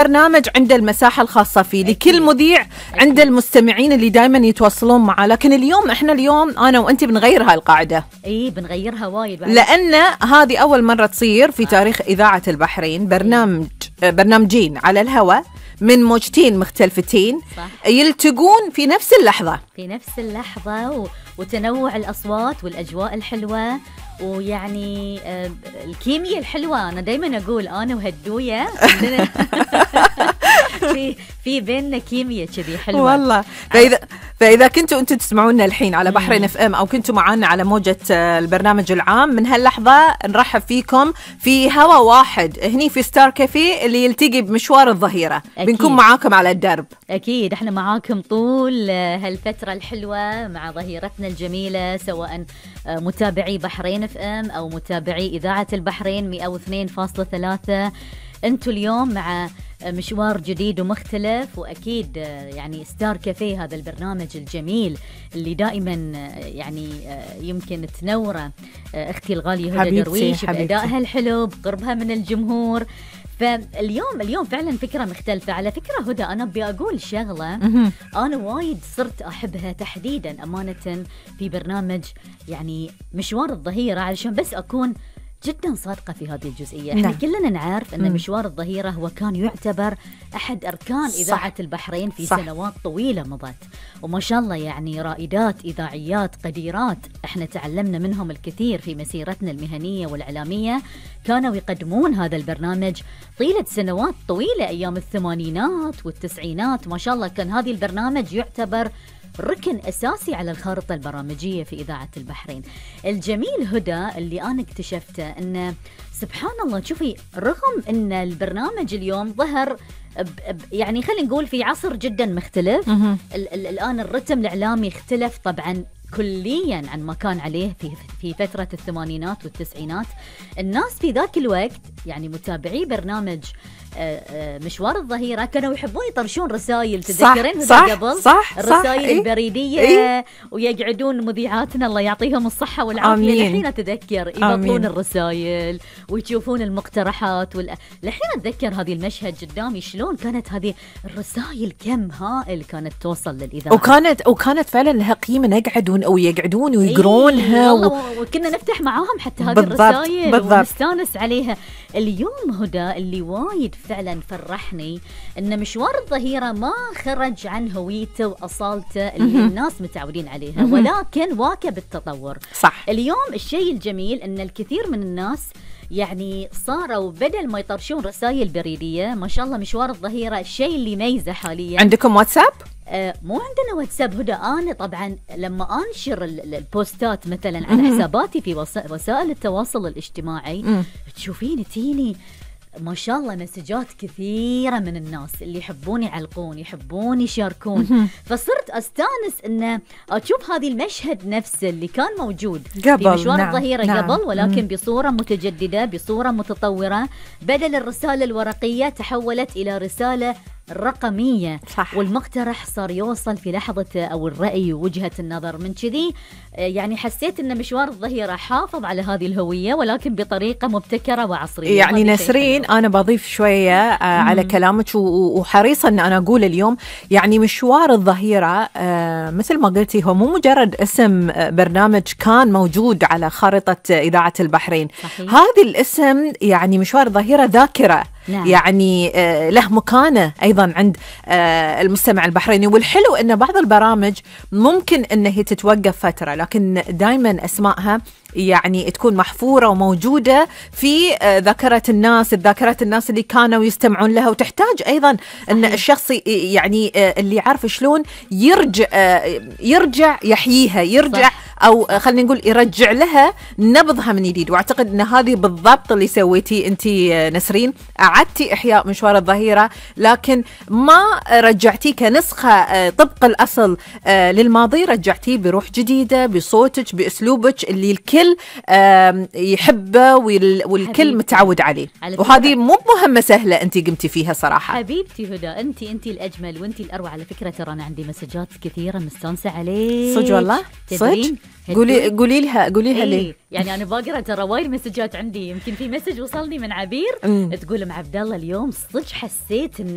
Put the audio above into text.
برنامج عنده المساحة الخاصة فيه لكل مذيع، عنده المستمعين اللي دائما يتواصلون معه. لكن اليوم أنا وأنت بنغير هاي القاعدة. بنغيرها وايد لأن هذه أول مرة تصير في تاريخ إذاعة البحرين برنامجين على الهواء من موجتين مختلفتين يلتقون في نفس اللحظة وتنوع الأصوات والأجواء الحلوة، ويعني الكيمياء الحلوة. أنا دايما أقول أنا وهدوية في بيننا كيمياء كذي حلوة والله. فإذا كنتوا أنتوا تسمعونا الحين على بحرين اف ام، أو كنتوا معانا على موجة البرنامج العام، من هاللحظة نرحب فيكم في هوا واحد هني في ستار كافيه اللي يلتقي بمشوار الظهيرة. بنكون معاكم على الدرب. أكيد احنا معاكم طول هالفترة الحلوة مع ظهيرتنا الجميلة، سواء متابعي بحرين اف ام أو متابعي إذاعة البحرين 102.3. انتوا اليوم مع مشوار جديد ومختلف، وأكيد يعني ستار كافيه هذا البرنامج الجميل اللي دائما يعني يمكن تنوره أختي الغالية هدى درويش بأدائها الحلو بقربها من الجمهور. فاليوم فعلا فكرة مختلفة. على فكرة هدى، أنا بأقول شغلة أنا وايد صرت أحبها تحديدا أمانة في برنامج يعني مشوار الظهيرة، علشان بس أكون جدا صادقة في هذه الجزئية. احنا كلنا نعرف أن مشوار الظهيرة هو كان يعتبر أحد أركان إذاعة البحرين في سنوات طويلة مضت، وما شاء الله يعني رائدات إذاعيات قديرات احنا تعلمنا منهم الكثير في مسيرتنا المهنية والإعلامية، كانوا يقدمون هذا البرنامج طيلة سنوات طويلة أيام الثمانينات والتسعينات. ما شاء الله كان هذا البرنامج يعتبر ركن أساسي على الخارطة البرامجية في إذاعة البحرين. الجميل هدى اللي أنا اكتشفته أن سبحان الله، شوفي، رغم أن البرنامج اليوم ظهر يعني خلينا نقول في عصر جدا مختلف، الآن الرتم الإعلامي اختلف طبعا كليا عن ما كان عليه في فترة الثمانينات والتسعينات. الناس في ذاك الوقت يعني متابعي برنامج مشوار الظهيرة كانوا يحبون يطرشون رسائل، تذكرين قبل الرسائل البريدية ويقعدون مذيعاتنا الله يعطيهم الصحة والعافية الحين أتذكر يبطلون الرسائل ويشوفون المقترحات الحين أتذكر هذه المشهد قدامي شلون كانت هذه الرسائل كم هائل كانت توصل للإذاعة، وكانت فعلا لها قيمة، يقعدون ويقرونها وكنا نفتح معاهم حتى هذه الرسائل ونستانس عليها. اليوم هدى اللي وايد فعلا فرحني ان مشوار الظهيرة ما خرج عن هويته واصالته اللي الناس متعودين عليها، ولكن واكب التطور. صح. اليوم الشيء الجميل ان الكثير من الناس يعني صاروا بدل ما يطرشون رسائل بريدية، ما شاء الله مشوار الظهيرة الشيء اللي ميزه حاليا. عندكم واتساب؟ مو عندنا واتساب هدى. أنا طبعا لما أنشر البوستات مثلا على حساباتي في وسائل التواصل الاجتماعي تشوفين تيني ما شاء الله مسجات كثيرة من الناس اللي يحبون يعلقون يحبون يشاركون، فصرت أستانس أن أشوف هذه المشهد نفسه اللي كان موجود في مشوار الظهيرة قبل، ولكن بصورة متجددة بصورة متطورة. بدل الرسالة الورقية تحولت إلى رسالة رقمية. صح. والمقترح صار يوصل في لحظة أو الرأي ووجهة النظر. من كذي يعني حسيت أن مشوار الظهيرة حافظ على هذه الهوية ولكن بطريقة مبتكرة وعصرية. يعني نسرين أنا بضيف شوية على كلامك وحريصة أن أنا أقول اليوم يعني مشوار الظهيرة مثل ما قلتي هو مو مجرد اسم برنامج كان موجود على خارطة إذاعة البحرين. صحيح. هذا الاسم يعني مشوار الظهيرة ذاكرة. نعم. يعني له مكانة أيضا عند المستمع البحريني. والحلو أن بعض البرامج ممكن أنها تتوقف فترة، لكن دايما أسمائها يعني تكون محفورة وموجودة في ذاكرة الناس اللي كانوا يستمعون لها. وتحتاج أيضا أن الشخص يعني اللي يعرف شلون يرجع يحييها، يرجع صح. أو خلينا نقول يرجع لها نبضها من جديد. وأعتقد أن هذه بالضبط اللي سويتي أنتي نسرين، أعدتي إحياء مشوار الظهيرة لكن ما رجعتيه كنسخة طبق الأصل للماضي، رجعتيه بروح جديدة بصوتك بأسلوبك اللي الكل الكل يحبه والكل متعود عليه. وهذه مو مهمة سهلة أنت قمتي فيها صراحة. حبيبتي هدى، أنت الأجمل وأنت الأروع. على فكرة ترى أنا عندي مسجات كثيرة مستانسة عليك. صدق والله؟ صدق؟ قولي لها ليه؟ يعني أنا باقرأ ترى وايد مسجات عندي. يمكن في مسج وصلني من عبير تقول: أم عبد الله اليوم صدق حسيت إن